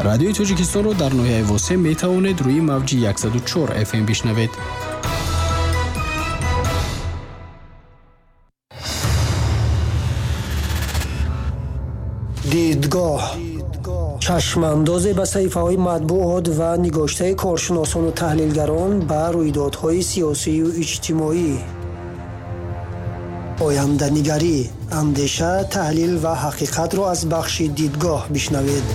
Радиои Тоҷикистонро дар ноҳияи Восе метавонед рӯи мавҷи 104 FM бишнавед. Дидгоҳ чашмандозе ба саҳифаҳои матбуот ва нигоштаи коршиносону таҳлилгарон ба рӯйдодҳои сиёсию иҷтимоӣ. Оянданигарӣ, андеша, таҳлил ва ҳақиқатро аз бахши дидгоҳ бишнавед.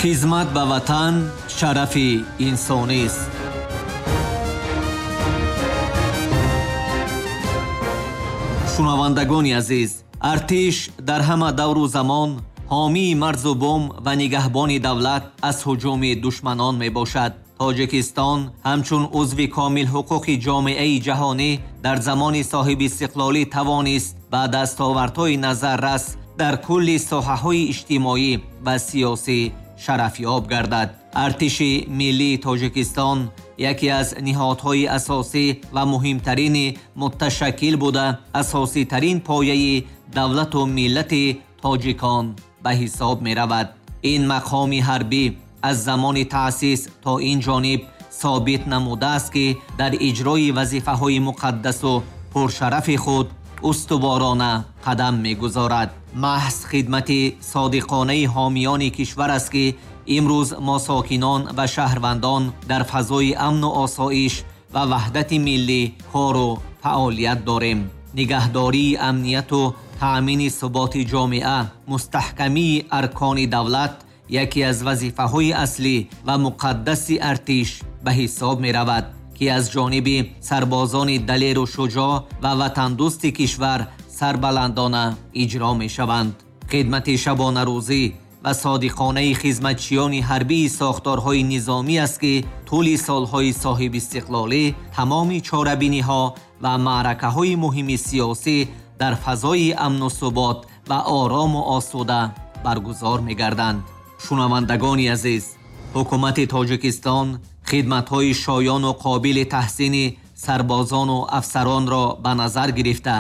Хизмат ба ватан шарафи инсонист. Шунавандагони азиз, артиш дар ҳама давру замон ҳомии марзу бум ва нигаҳбони давлат аз ҳуҷуми душманон мебошад. Тоҷикистон ҳамчун узви комилҳуқуқи ҷомеаи ҷаҳонӣ дар замони соҳибистиқлолӣ тавонист ба дастовардҳои назаррас дар кулли соҳаҳои иҷтимоӣ ва сиёсӣ шарафёб гардад. Артиши миллии Тоҷикистон яке аз ниҳодҳои асосӣ ва муҳимтарини муташаккил буда, асоситарин пояи давлату миллати тоҷикон ба ҳисоб меравад. Ин мақоми ҳарбӣ аз замони таъсис то ин ҷониб собит намудааст, ки дар иҷрои вазифаҳои муқаддасу пуршарафи худ устуворона қадам мегузорад. Маҳз хидмати содиқонаи ҳомиёни кишвар аст, ки имрӯз мо сокинон ва шаҳрвандон дар фазои амну осоиш ва ваҳдати миллӣ кору фаъолият дорем. Нигаҳдории амнияту таъмини суботи ҷомеа, мустаҳкамии аркони давлат яке аз вазифаҳои аслӣ ва муқаддаси артиш ба ҳисоб меравад, ки аз ҷониби сарбозони далеру шуҷоъ ва ватандӯсти кишвар сарбаландона иҷро мешаванд. Хидмати шабонарӯзӣ ва содиқонаи хизматчиёни ҳарбии сохторҳои низомӣ аст, ки тӯли солҳои соҳибистиқлолӣ тамоми чорабиниҳо ва маъракаҳои муҳими сиёсӣ дар фазои амну субот ва орому осуда баргузор мегарданд. Шунавандагони азиз, ҳукумати Тоҷикистон хидматҳои шоёну қобили таҳсини сарбозону афсаронро ба назар гирифта,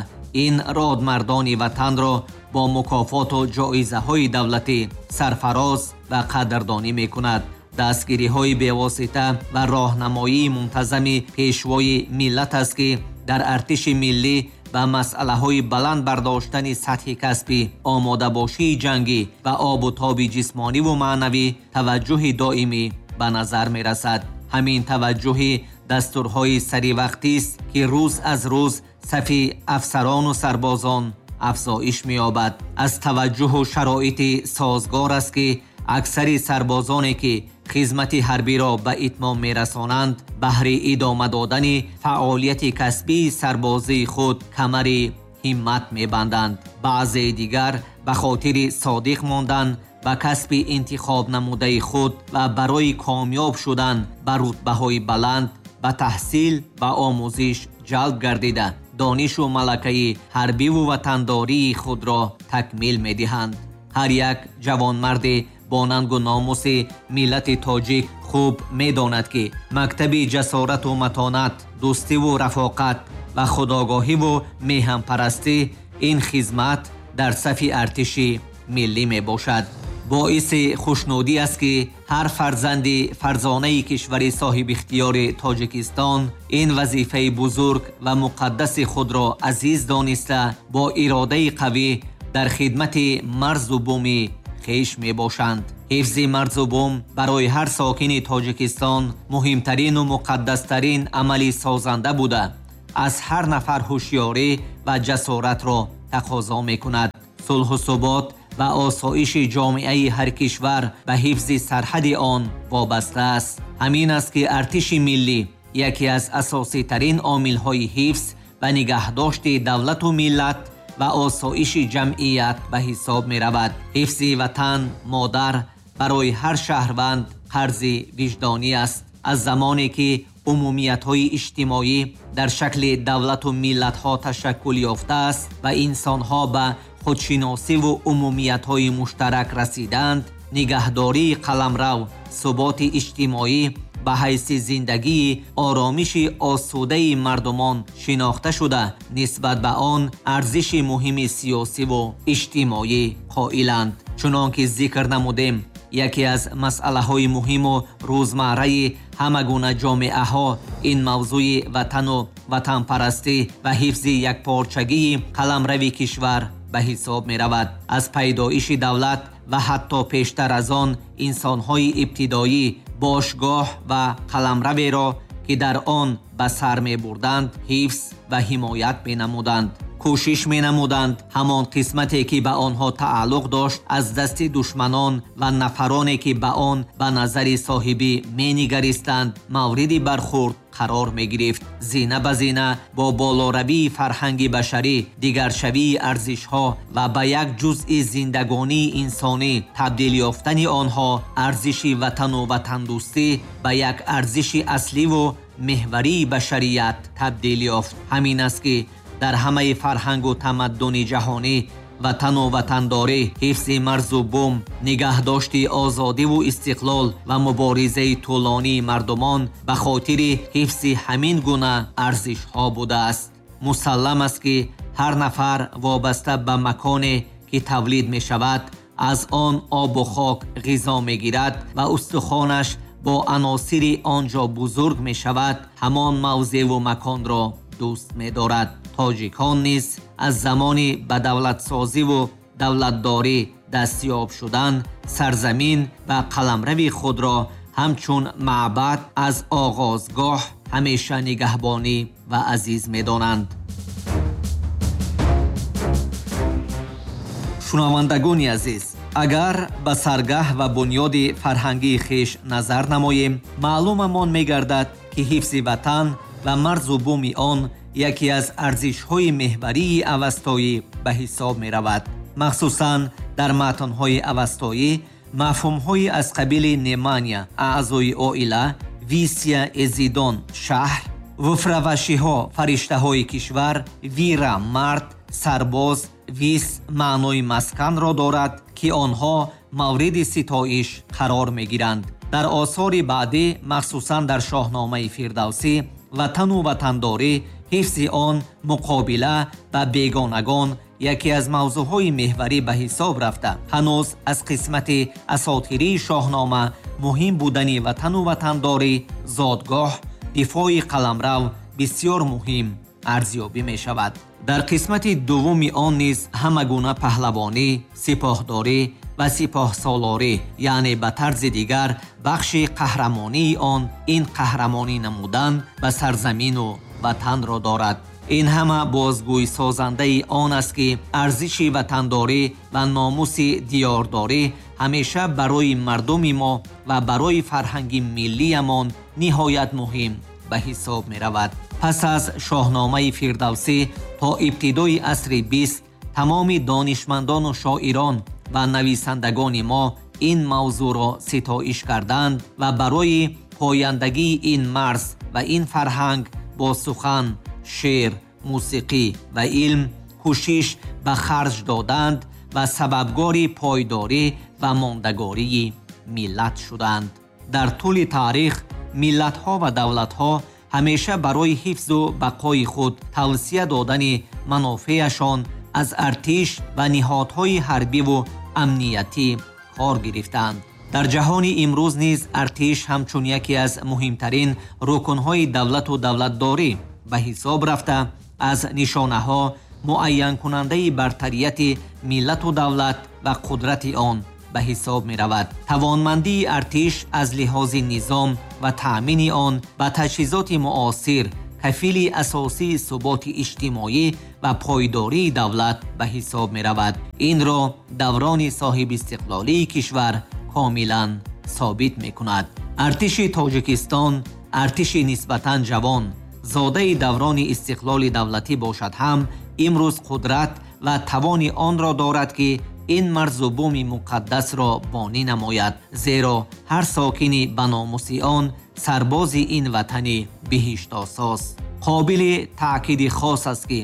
ин родмардони ватанро бо мукофоту ҷоизаҳои давлатӣ сарфароз ва қадрдонӣ мекунад. Дастгириҳои бевосита ва роҳнамоии мунтазами пешвои миллат аст, ки дар артиши миллӣ ба масъалаҳои баланд бардоштани сатҳи касбӣ, омодабошии ҷангӣ ва обу тоби ҷисмониву маънавӣ таваҷҷӯҳи доимӣ ба назар мерасад. Ҳамин таваҷҷӯҳи дастурҳои саривақтист, ки рӯз аз рӯз сафи афсарону сарбозон афзоиш меёбад. Аз таваҷҷӯҳу шароити созгор аст, ки аксари сарбозоне, ки хизмати ҳарбиро ба итмом мерасонанд, баҳри идома додани фаъолияти касбии сарбозии худ камари ҳиммат мебанданд. Баъзеи дигар ба хотири содиқ мондан ба касби интихоб намудаи худ ва барои комёб шудан ба рутбаҳои баланд ба таҳсил ва омӯзиш ҷалб гардида, донишу малакаи ҳарбиву ватандории худро такмил медиҳанд. Ҳар як ҷавонмарди бо нангу номуси миллати тоҷик хуб медонад, ки мактаби ҷасорату матонат, дӯстиву рафоқат ва худогоҳиву меҳанпарастӣ ин хизмат дар сафи артиши миллӣ мебошад. Боиси хушнудӣ аст, ки ҳар фарзанди фарзонаи кишвари соҳибихтиёри Тоҷикистон ин вазифаи бузург ва муқаддаси худро азиз дониста, бо иродаи қавӣ дар хидмати марзу буми хеш мебошанд. Ҳифзи марзу бум барои ҳар сокини Тоҷикистон муҳимтарину муқаддастарин амали созанда буда, аз ҳар нафар ҳушёрӣ ва ҷасоратро тақозо мекунад. Сулҳу субот ва осоиши ҷомеаи ҳар кишвар ба ҳифзи сарҳади он вобаста аст. Ҳамин аст, ки артиши миллӣ яке аз асоситарин омилҳои ҳифз ва нигаҳдошти давлату миллат ва осоиши ҷамъият ба ҳисоб меравад. Ҳифзи ватан, модар барои ҳар шаҳрванд қарзи виҷдонӣ аст. Аз замоне ки умумиятҳои иҷтимоӣ дар шакли давлату миллатҳо ташаккул ёфтааст ва инсонҳо ба худшиносиву умумиятҳои муштарак расиданд, нигаҳдории қаламрав, суботи иҷтимоӣ ба ҳайси зиндагии оромиши осудаи мардумон шинохта шуда, нисбат ба он арзиши муҳими сиёсиву иҷтимоӣ қоиланд. Чунон ки зикр намудем, яке аз масъалаҳои муҳиму рӯзмарраи ҳама гуна ҷомеаҳо ин мавзӯи ватану ватанпарастӣ ва ҳифзи якпорчагии қаламрави кишвар ба ҳисоб меравад. Аз пайдоиши давлат ва ҳатто пештар аз он инсонҳои ибтидоӣ бошгоҳ ва қаламраверо, ки дар он ба сар мебурданд, ҳифз ва ҳимоят менамуданд. Кӯшиш менамуданд ҳамон қисмате, ки ба онҳо тааллуқ дошт, аз дасти душманон ва нафароне, ки ба он ба назари соҳибӣ менигаристанд, мавриди бархӯрд қарор мегирифт. Зина ба зина бо болоравии фарҳанги башарӣ, дигаршавии арзишҳо ва ба як ҷузъи зиндагонии инсонӣ табдил ёфтани онҳо, арзиши ватану ватандӯстӣ ба як арзиши асливу меҳварии башарият табдил ёфт. Ҳамин аст, ки дар ҳамаи фарҳангу тамаддуни ҷаҳонӣ ватану ватандорӣ, ҳифзи марзу бум, нигаҳдошти озодиву истиқлол ва муборизаи тӯлонии мардумон ба хотири ҳифзи ҳамин гуна арзишҳо будааст. Мусаллам аст, ки ҳар нафар вобаста ба маконе, ки тавлид мешавад, аз он обу хок ғизо мегирад ва устухонаш бо аносири он ҷо бузург мешавад, ҳамон мавзеъу маконро дӯст медорад. Тоҷикон низ аз замони ба давлатсозиву давлатдорӣ дастёб шудан сарзамин ва қаламрави худро ҳамчун маъбад аз оғозгоҳ ҳамеша нигаҳбонӣ ва азиз медонанд. Шунавандагони азиз, агар ба саргаҳ ва бунёди фарҳангии хеш назар намоем, маълумамон мегардад, ки ҳифзи ватан ва марзу буми он яке аз арзишҳои меҳварии авастоӣ ба ҳисоб меравад. Махсусан дар матнҳои авастоӣ мафҳумҳои аз қабили немания, аъзои оила, висия, эзидон, шаҳр, вуфравашиҳо, фариштаҳои кишвар, вира, мард, сарбоз, вис маънои масканро дорад, ки онҳо мавриди ситоиш қарор мегиранд. Дар осори баъдӣ, махсусан дар Шоҳномаи Фирдавсӣ, ватану ватандорӣ, ҳифзи он, муқобила ба бегонагон яке аз мавзӯъҳои меҳварӣ ба ҳисоб рафта, ҳанӯз аз қисмати асотирии Шоҳнома муҳим будани ватану ватандорӣ, зодгоҳ, дифои қаламрав бисёр муҳим арзёбӣ мешавад. Дар қисмати дуввуми он низ ҳама гуна паҳлавонӣ, сипоҳдорӣ ва сипоҳсолорӣ, яъне ба тарзи дигар бахши қаҳрамонии он ин қаҳрамонӣ намудан ба сарзамину ватанро дорад. Ин ҳама бозгӯйсозандаи он аст, ки арзиши ватандорӣ ва номуси диёрдорӣ ҳамеша барои мардуми мо ва барои фарҳанги миллиямон ниҳоят муҳим ба ҳисоб меравад. Пас аз Шоҳномаи Фирдавсӣ то ибтидои асри 20 тамоми донишмандону шоирон ва нависандагони мо ин мавзӯъро ситоиш карданд ва барои пояндагии ин марз ва ин фарҳанг бо сухан, шеър, мусиқӣ ва илм кӯшиш ба харҷ доданд ва сабабгори пойдорӣ ва мондагории миллат шуданд. Дар тӯли таърих миллатҳо ва давлатҳо ҳамеша барои ҳифзу бақои худ тавсия додани манофеашон аз артиш ва ниҳодҳои ҳарбиву амниятӣ кор гирифтанд. Дар ҷаҳони имрӯз низ артиш ҳамчун яке аз муҳимтарин рукнҳои давлату давлатдорӣ ба ҳисоб рафта, аз нишонаҳо муайянкунандаи бартарияти миллату давлат ва қудрати он ба ҳисоб меравад. Тавонмандии артиш аз лиҳози низом ва таъмини он ба таҷҳизоти муосир кафили асосии суботи иҷтимоӣ ва пойдории давлат ба ҳисоб меравад. Инро даврони соҳибистиқлолии кишвар комилан собит мекунад. Артиши Тоҷикистон артиши нисбатан ҷавон, зодаи даврони истиқлоли давлатӣ бошад ҳам, имрӯз қудрат ва тавони онро дорад, ки ин марзу буми муқаддасро бонӣ намояд, зеро ҳар сокини ба номуси он сарбози ин ватани биҳиштосоз. Қобили таъкиди хос аст, ки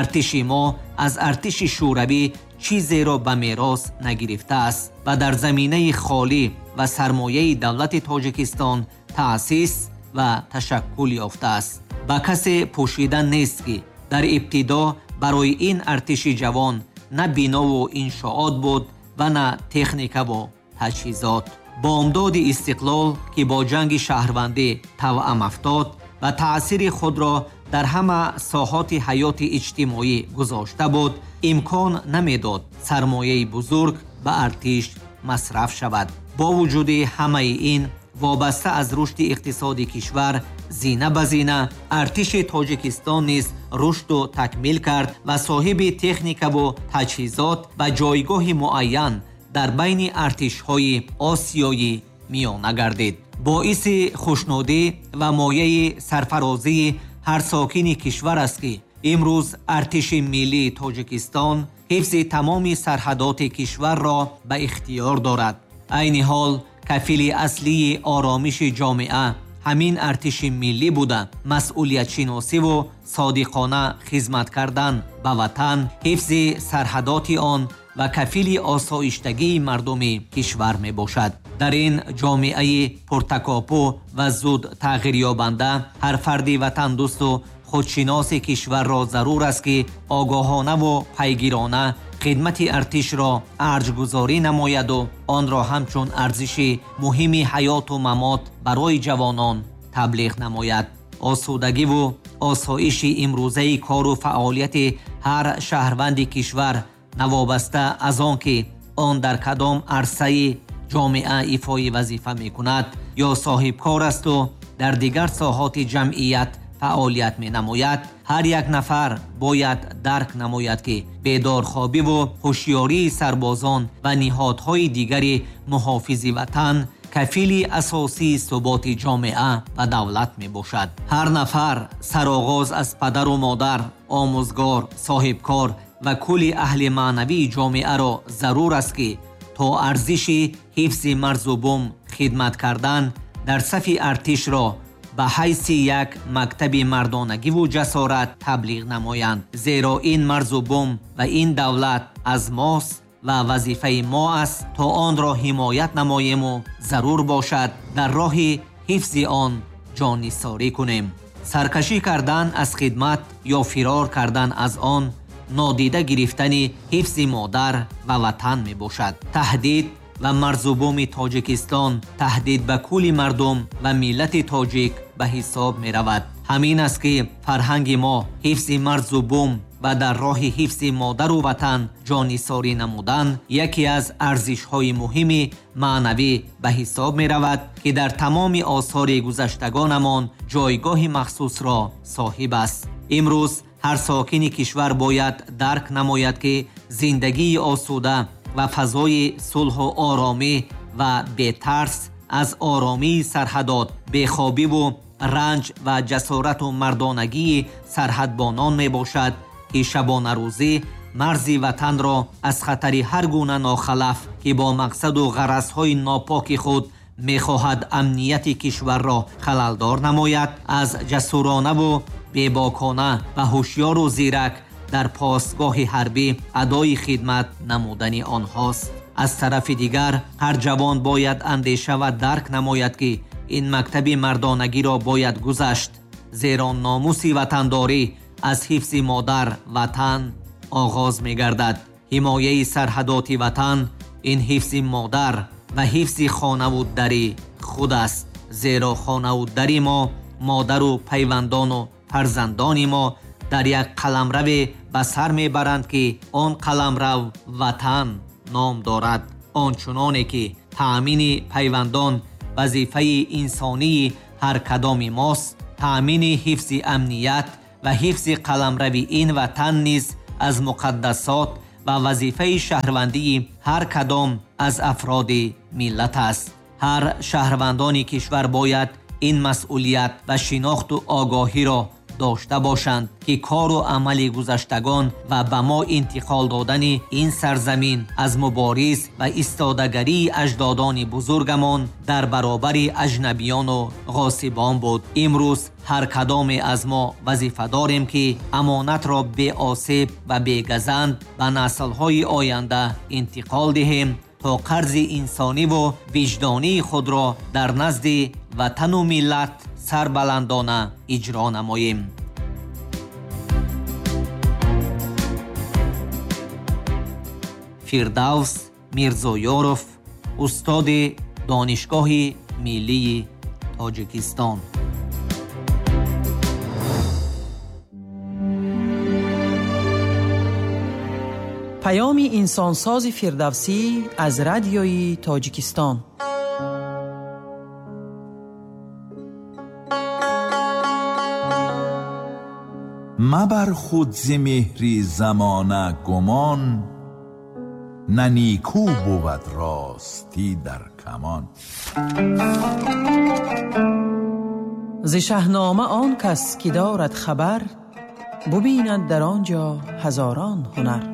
Артиши мо аз артиши Шӯравӣ чизеро ба мерос нагирифтааст ва дар заминаи холӣ ва сармояи давлати Тоҷикистон таъсис ва ташаккул ёфтааст. Ба касе пӯшида нест, ки дар ибтидо барои ин артиши ҷавон на бинову иншоот буд ва на техникаву таҷҳизот. Бомдоди истиқлол, ки бо ҷанги шаҳрвандӣ тавъам афтод ва таъсири худро дар ҳама соҳоти ҳаёти иҷтимоӣ гузошта буд, имкон намедод сармояи бузург ба артиш масраф шавад. Бо вуҷуди ҳамаи ин, вобаста аз рушди иқтисоди кишвар, зина ба зина артиши Тоҷикистон низ рушду такмил кард ва соҳиби техникаву таҷҳизот ва ҷойгоҳи муайян дар байни артишҳои Осиёи Миёна гардид. Боиси хушнудӣ ва мояи сарфарозии ҳар сокини кишвар аст, ки имрӯз артиши миллии Тоҷикистон ҳифзи тамоми сарҳадоти кишварро ба ихтиёр дорад. Айни ҳол кафили аслии оромиши ҷомеа ҳамин артиши миллӣ буда, масъулиятшиносиву содиқона хизмат кардан ба ватан, ҳифзи сарҳадоти он ва кафили осоиштагии мардуми кишвар мебошад. Дар ин ҷомеаи пуртакопӯ ва зуд тағйирёбанда ҳар фарди ватандӯсту худшиноси кишварро зарур аст, ки огоҳонаву пайгирона хидмати артишро арҷгузорӣ намояду онро ҳамчун арзиши муҳими ҳаёту мамот барои ҷавонон таблиғ намояд. Осудагиву осоиши имрӯзаи кору фаъолияти ҳар шаҳрванди кишвар, навобаста аз он ки он дар кадом арсаи ҷомеа ифои вазифа мекунад ё соҳибкор асту дар дигар соҳоти ҷамъият фаъолият менамояд, ҳар як нафар бояд дарк намояд, ки бедорхобиву ҳушёрии сарбозон ва ниҳодҳои дигари муҳофизи ватан кафили асосии суботи ҷомеа ва давлат мебошад. Ҳар нафар, сароғоз аз падару модар, омӯзгор, соҳибкор ва кулли аҳли маънавии ҷомеаро зарур аст, ки то арзиши ҳифзи марзу бум хидмат кардан дар сафи артишро ба ҳайси як мактаби мардонагиву ҷасорат таблиғ намоянд. Зеро ин марзу бум ва ин давлат аз мост ва вазифаи мо аст, то онро ҳимоят намоему зарур бошад дар роҳи ҳифзи он ҷоннисорӣ кунем. Саркашӣ кардан аз хидмат ё фирор кардан аз он нодида гирифтани ҳифзи модар ва ватан мебошад. Таҳдид ва марзубуми Тоҷикистон таҳдид ба кулли мардум ва миллати тоҷик ба ҳисоб меравад. Ҳамин аст, ки фарҳанги мо ҳифзи марзу бум ва дар роҳи ҳифзи модару ватан ҷоннисорӣ намудан яке аз арзишҳои муҳими маънавӣ ба ҳисоб меравад, ки дар тамоми осори гузаштагонамон ҷойгоҳи махсусро соҳиб аст. Имрӯз ҳар сокини кишвар бояд дарк намояд, ки зиндагии осуда ва фазои сулҳу оромӣ ва бетарс аз оромии сарҳадот, бехобиву ранҷ ва ҷасорату мардонагии сарҳадбонон мебошад, ки шабонарӯзӣ марзи ватанро аз хатари ҳар гуна нохалаф, ки бо мақсаду ғаразҳои нопоки худ мехоҳад амнияти кишварро халалдор намояд, аз ҷасуронаву бебокона ва ҳушёру зирак дар постгоҳи ҳарбӣ адои хидмат намудани онҳост. Аз тарафи дигар, ҳар ҷавон бояд андеша ва дарк намояд, ки ин мактаби мардонагиро бояд гузашт, зеро номуси ватандорӣ аз ҳифзи модар ватан оғоз мегардад. Ҳимояи сарҳадоти ватан ин ҳифзи модар ва ҳифзи хонаву дари худ аст, зеро хонаву дари мо, модару пайвандону фарзандони мо дар як қаламраве ба сар мебаранд, ки он қаламрав ватан ном дорад. Ончуноне ки таъмини пайвандон вазифаи инсонии ҳар кадоми мост, таъмини ҳифзи амният ва ҳифзи қаламрави ин ватан низ аз муқаддасот ва вазифаи шаҳрвандии ҳар кадом аз афроди миллат аст. Ҳар шаҳрвандони кишвар бояд ин масъулият ва шинохту огоҳиро дошта бошанд, ки кору амали гузаштагон ва ба мо интиқол додани ин сарзамин аз мубориз ва истодагарии аҷдодони бузургамон дар баробари аҷнабиёну ғосибон буд. Имрӯз ҳар кадоме аз мо вазифа дорем, ки амонатро беосеб ва бегазанд ба наслҳои оянда интиқол диҳем, то қарзи инсониву виҷдонии худро дар назди ватану миллат сарбаландона иҷро намоем. Фирдавс Мирзоёров, устоди Донишгоҳи миллии Тоҷикистон. Паёми инсонсози Фирдавсӣ аз Радиои Тоҷикистон. Мабар худ зи меҳри замона гумон, на нику бувад ростӣ дар камон. Зи Шаҳнома он кас ки дорад хабар, бубинад дар он ҷо ҳазорон ҳунар.